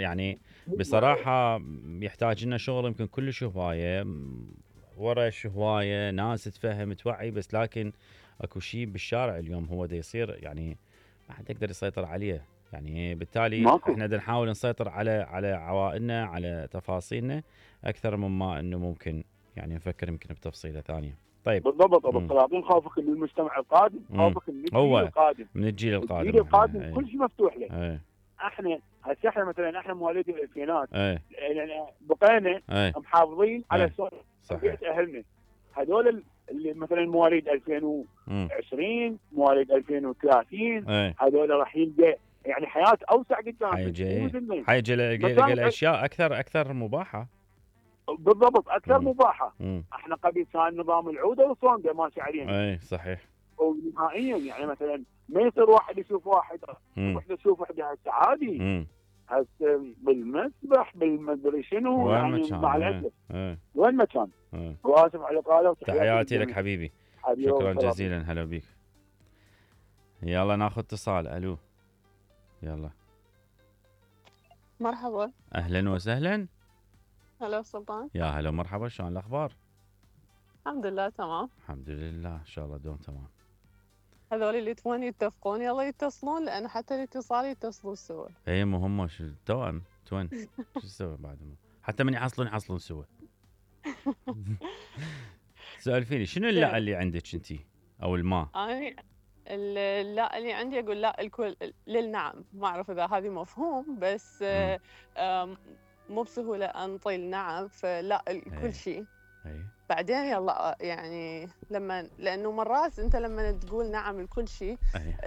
يعني بصراحه يحتاج لنا شغل يمكن كلش هوايه، ورش هوايه، ناس تفهم توعي، بس لكن اكو شيء بالشارع اليوم هو دا يصير يعني ما حد يقدر يسيطر عليه. يعني بالتالي ماكو. احنا بدنا نحاول نسيطر على عوائلنا، على تفاصيلنا اكثر مما انه ممكن يعني نفكر يمكن بتفصيله ثانيه. طيب. بالضبط ابو السلاطين، خوفك من المجتمع القادم، خوفك من الجيل هو القادم. من الجيل القادم. الجيل القادم كل شيء مفتوح له. ايه. احنا هسه احنا مثلا احنا مواليد الالفينات، ايه. يعني بقينا ايه. محافظين على ايه. تربيه اهلنا. هذول اللي مثلا مواليد 2020 مواليد 2030 ايه. هذول راح يلقى يعني حياه اوسع قدام. حيجي الاشياء اكثر مباحه. بالضبط اكثر مباحه. احنا قبل كان نظام العوده والصوندة ماشي علينا. اي صحيح. ونهائيا يعني مثلا ما يصير واحد يشوف واحد، وحده تشوف وحده، هسه عادي. هسه بالمسبح بالمدري شنو يعني مع الاسف. وين ما كان. واسف على قاله. تحياتي لك حبيبي. شكرا جزيلا. هلا بيك. يلا ناخذ اتصال. الو. يلا. مرحبا. اهلا وسهلا. هلا سلطان. يا هلا مرحبا، شلون الاخبار؟ الحمد لله تمام. الحمد لله، ان شاء الله دوم تمام. هذول اللي تبون يتفقون يلا يتصلون، لان حتى الاتصال يتصلون سوا. اي مو هم توأم توين شو تسوي بعد حتى من يحصلون سوا. سؤال فيني شنو اللا اللي عندك انتي او الماء؟ انا اللا اللي عندي اقول لا الكل للنعم. ما اعرف اذا هذه مفهوم، بس مو بسهوله انطي النعم، فلا كل شيء. بعدين يلا يعني لانه مرات انت لما تقول نعم لكل شيء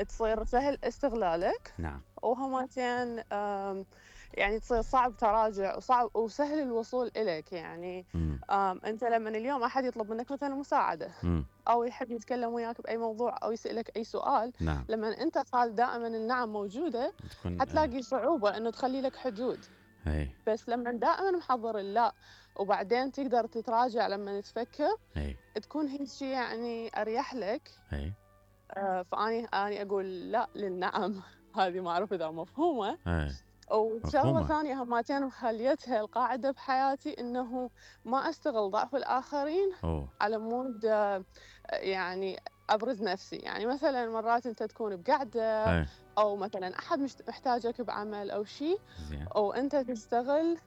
تصير سهل استغلالك. نعم. وهمتين يعني تصير صعب تراجع وصعب وسهل الوصول إليك. يعني انت لما اليوم احد يطلب منك مثلا مساعده او يحب يتكلم وياك باي موضوع او يسالك اي سؤال، نعم. لما انت قال دائما النعم موجوده حتلاقي صعوبه انه تخلي لك حدود. بس لما دائما محضر اللا وبعدين تقدر تتراجع لما تفكر، تكون هي شيء يعني اريح لك. فاني اقول لا للنعم. هذه ما اعرف اذا مفهومه. وشغله ثانيه همتين وخليتها القاعده بحياتي، انه ما استغل ضعف الاخرين على مود يعني ابرز نفسي. يعني مثلا مرات انت تكون بقعده او مثلا احد محتاجك بعمل او شيء، وانت تستغل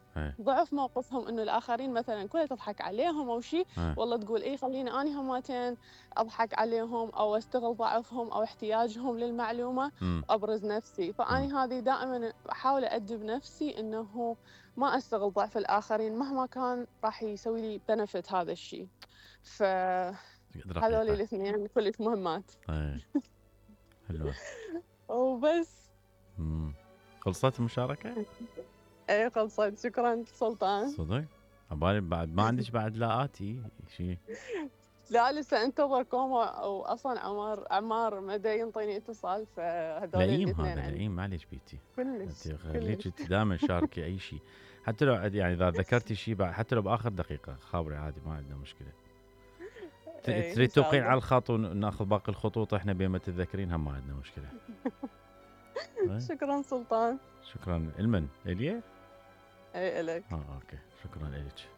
ضعف موقفهم، انه الاخرين مثلا كلها تضحك عليهم او شيء، والله تقول اي خليني اني همتين اضحك عليهم او استغل ضعفهم او احتياجهم للمعلومه وابرز نفسي. فاني هذه دائما احاول ادب نفسي انه ما استغل ضعف الاخرين مهما كان راح يسوي لي بنفيت هذا الشيء. هذول الاثنين كلش مهمات. حلوه. وبس. خلصت المشاركه؟ ايه خلصت. شكرا سلطان. صدق؟ عبالي بعد ما عندك بعد لاقاتي شيء. لا لسه انتظركم، واصلا عمار ما دا ينطيني اتصال، فهذول الاثنين هذا لئيم. معليش بيتي كلش خليك انت دائما شاركي اي شيء، حتى لو يعني اذا ذكرتي شيء بعد، حتى لو باخر دقيقه خابري عادي، ما عندنا مشكله. تريد توقعين على الخط وناخذ باقي الخطوط احنا بين ما تتذكرين، هم ما عندنا مشكله. شكرا سلطان. شكرا. المن اليه؟ اي الك. اوكي. شكرا لك.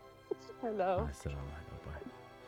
هلا. مع السلامه. باي.